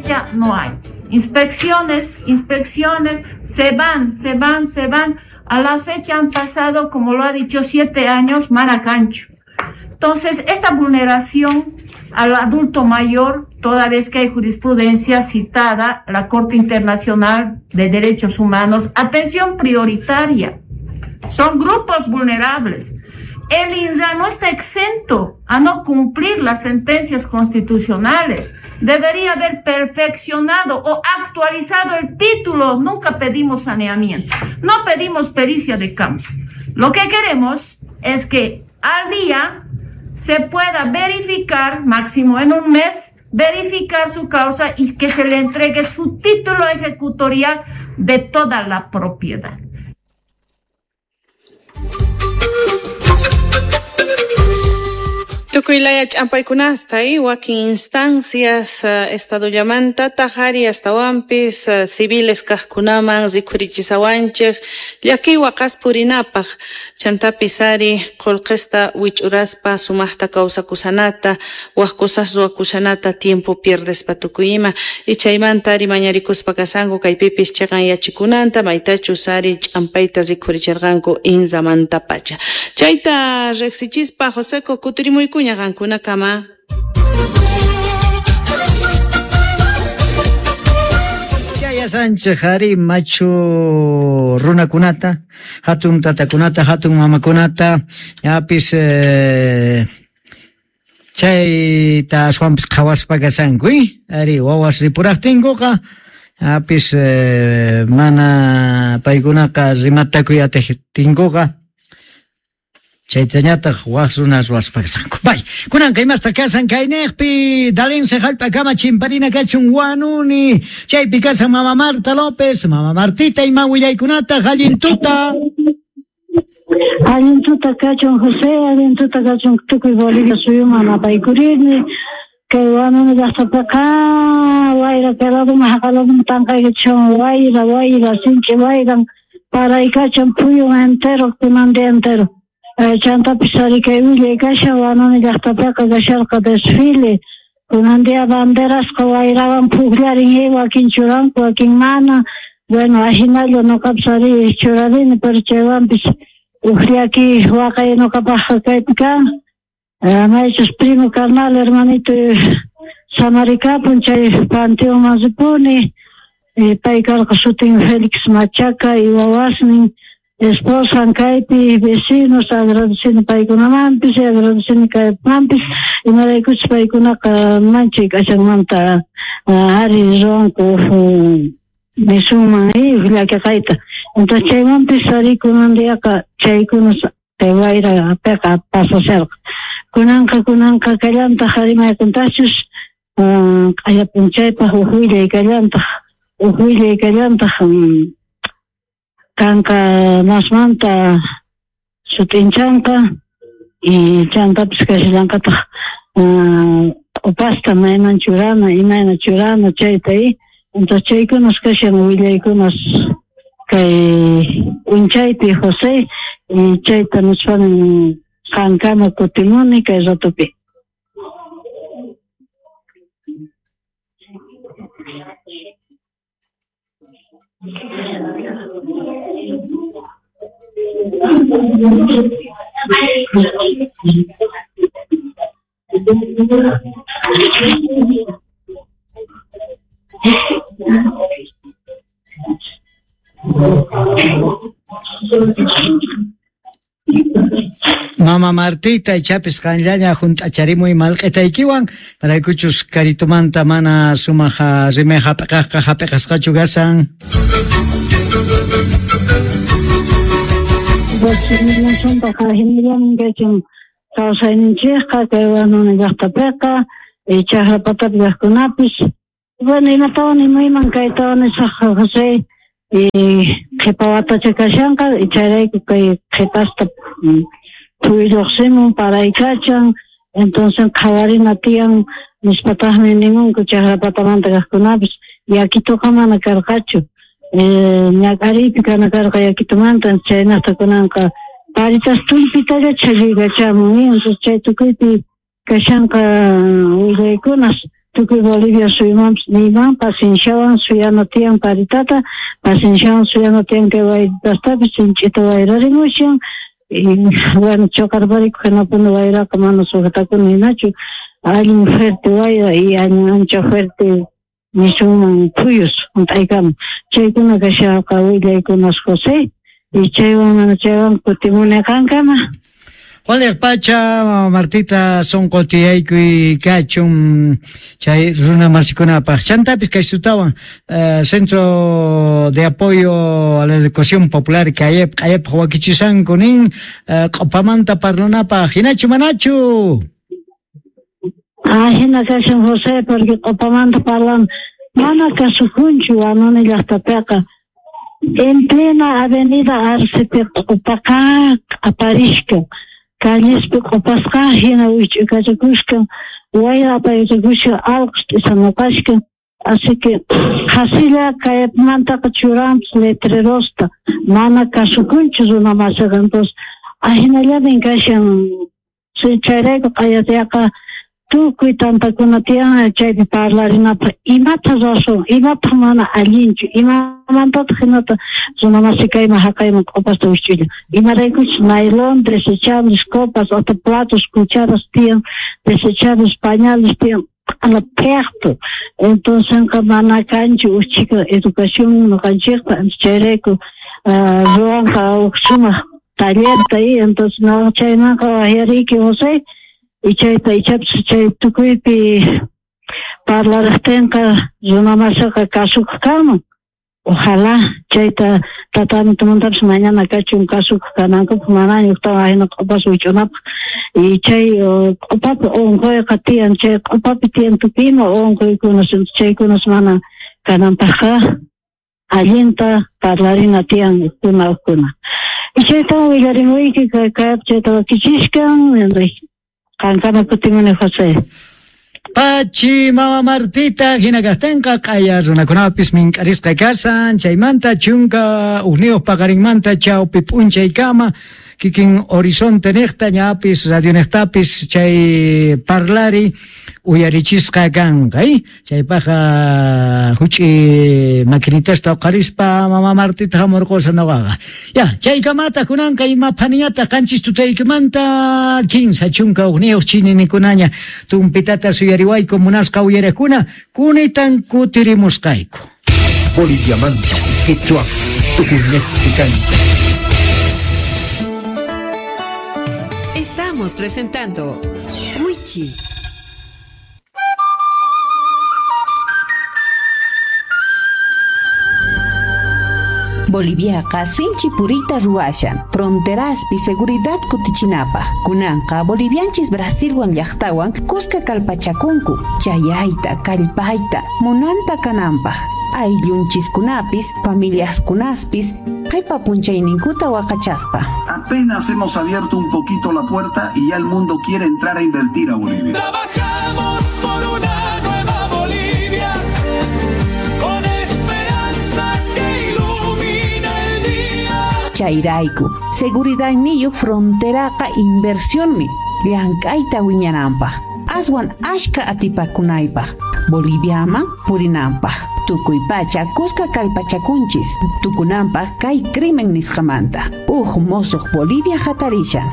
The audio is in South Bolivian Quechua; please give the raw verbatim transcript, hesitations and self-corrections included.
fecha no hay. Inspecciones, inspecciones, se van, se van, se van. A la fecha han pasado, como lo ha dicho, siete años, maracancho. Entonces, esta vulneración al adulto mayor, toda vez que hay jurisprudencia citada, la Corte Internacional de Derechos Humanos, atención prioritaria, son grupos vulnerables. El INRA no está exento a no cumplir las sentencias constitucionales. Debería haber perfeccionado o actualizado el título. Nunca pedimos saneamiento, no pedimos pericia de campo. Lo que queremos es que al día se pueda verificar, máximo en un mes, verificar su causa y que se le entregue su título ejecutorial de toda la propiedad. Tukuy laya ch'ampaykunasta y wakin instancias uh, estadollamanta tajari astawanpis uh, civiles kajkunaman rikhurichisawanchej llakiy waqas purinapaj chantapis ari qullqista wich'uraspa sumaqta kawsakusanata waj cosas ruwakushanata tiempo pierdespa tukuyima y chaymanta ari mañarikuspa kasanku kaypipis chiqan yachikunanta maytachus ari ch'ampayta rikhuricherqanku inramanta pacha chayta riqsichispa Joseco kutirimuykuña qankunakama. Chaya Sánchez ari machu runakunata hatun tatakunata hatun mamakunata yapis eh, chayta aswanpis qhawaspa kasanku ari wawas ripuraqtinkuqa yapis eh, mana paykunaqa rimatakuy atiqtinkuqa chaytañataq waq runas ruwaspa kasanku. Bay, kunanqa imasta kasan kayniqpi Dalinse hallp'akama chimparina kachun wanuni chaypi kasan mama Marta López, mama Martita ima willaykunata allin tuta. Allin tuta kachun José, allin tuta kachun tukuy Bolivia suyuman apaykurirni kay wanuni llaqtapiqa wayra kayladuman haqaladuman tanqaykachun wayra wayra sinchi wayran paraykachan puyun entero kunan día entero. Chantapis ari kay willay kashan wanuni llaqtapiqa kasharqa desfile kunan día banderasqa wayrawan pukllarin wakin churanku wakin mana bueno ajinalla nuqapis ari churarini pero chaywanpis uj llaki waqay nuqapaqqa kaypi kan maychus primo carnal hermanito samarikapun chay panteonman ripuni pay karqa sutin Félix Machaca y wawasnin esposan kaypi vecinos agradecini paykunamanpis agradecini kaymanpis imaraykuchus paykunaqa manchay k'achanmanta ari ruwanku nisunman llakiqayta entonces chaymanpis ari kunan diaqa chaykunas kay wayra piqa pasasharqa kunanqa kunanqa kallantaq ari mayqintachus q'aya p'unchaypaq uj willay kallantaq uj willay kallantaq kanqa masmanta sut'inchanqa y chantapis kashallanqataq q'upasta mayman churana imayna churana chayta y entonces chaykunas kashan willaykunas kay p'unchaypi José y chayta nispanin qankama kutimuni kay ratopi. Mama Martita ichapis qanllaña hunt'acharimuy malq'itaykiwan paraykuchus karitumanta mana sumaq rimay hap'iqaqqa hap'iqasqachu kasan. Kachun kawsayninchikqa kay wanuni llaqtapiqa chaqra patapi kaqkunapis bueno imatawan imayman kaytawan nisaq José qhipa watacha kashanqa chayrayku kay qhipasta phuy lluqsimun paraykachan entonces qhawarina tiyan nispataqmi nimunku chaqra patamanta kaqkunapis yakituqa mana karqachu ñak'ariypi kana karqa yakitumanta chaynaqta kunanqa paritas tullpitalla chhallaykachamun entonces chay tukuypi kashanqa willaykunas Tukuy Bolivia suyumanpis niyman pacienciawan suyana tiyan paritata, pacienciawan suyana tiyan kay wayritastapis sinch'ita wayrarimushan. Y bueno, choqarparikuq hinapuni wayraqa mana sujetakuna hinachu, allin fuerte wayra y allin ancha fuerte nisunman phuyus hunt'aykamun. Chaykuna kashaqa willaykunas José, y chaywan mana chaywan kutimuni qankama. Waliq pacha, mama Martita, sonqo tiyaykuy kachun chay runa masikunapaq. Chantapis kay sutawan eh, Centro de Apoyo a la Educación Popular Kayep, Kayep wakichisanku nin eh, q'upamanta parlanapaq. Hinachu manachu? Ah, hina kashan José, porque q'upamanta parlan mana kasukunchu Huanuni llaqtapiqa. En plena avenida Arcepi q'upaqa q'aparishkan. Callespi q'upasqa hina wich'ukachakushkan, wayra apaykachakushkan, allqus t'isamuqashkan. Así que qhasilla kaymantaqa churanpis letrerosta, mana kasukunchu runa masiqa. Entonces ahinallamin kashan. Chayrayku q'ayatayaqa tukuy tantakuna tiyan chaypi parlarinapaq imata razón, imapaq mana allinchu, imamantataq hinata runa masi kayman haqayman q'upasta wich'ulla. Imaraykuchus nailón, desechables, copas, hasta platos, cucharas tiyan, desechables, pañales tiyan, q'ala phiaqtu. Entonces mana kanchu uchika educación noqanchikpa, chayrayku ruwanqa huk sumaq tallerta y entonces no chaymanqa waqyariyki José. Y chayta ichapis chay tukuypi parlaraqtinqa runa masiqa kasukuq kanman. Ojalá chayta tratamientomantapis mañana kachun kasukuq kanankupaq, manaña ujtawan ahina q'upas wich'unapaq. Y chay q'upapi unquyqa tiyan, chay q'upapi tiyan tukuy ima unquykunas, chaykunas mana kananpaqqa allinta parlarina tiyan ukkuna ukkuna. Y chayta willarimuyki kaypi chayta wakichishkan. Qankama kutimuni José. Pachi mama Martita hina kastenqa q'aya runakunapis mink'arisqa kasan chaymanta chunka uqniyuq paqarinmanta chawpi p'unchaykama kikin horizonte niqta ñapis radio niqtapis chay parlari uyarichisqa kanqa, eh? Chaypaqqa huch'i maquinitasta uqarispa mama Martita hamurqusa nuqaqa. Ya, chaykamata kunanqa ima phaniñata qanchis tutaykimanta kinsa chunka uqniyuq chininikunaña tumpitata suyariwayku munasqa uyariqkuna kunitan kutirimusqayku. Boliviamanta, Quechua, Tukuñeqpi kancha. Estamos presentando Wichi. Boliviaqa sinchi puriyta ruwashan, fronteraspi seguridad kutichinapaq. Kunanqa bolivianchis Brasilwan llaqtawan kuska kallpachakunku, chayayta, kallpayta, munanta kananpaq. Ayllunchiskunapis, familiaskunaspis, qhipa punchayninkuta waqachaspa. Apenas hemos abierto un poquito la puerta y ya el mundo quiere entrar a invertir a Bolivia. Trabajamos por una nueva Bolivia, con esperanza que ilumina el día. Chayrayku, seguridad niyu fronteraqa inversionmi, llank'ayta wiñananpaq. Aswan ashka atipakunaypaq, Boliviaman purinanpaq. Tukuy pacha kuska kallpachakunchis, tukunanpaq kay crimen nisqamanta. Uj mosuq Bolivia hatarishan.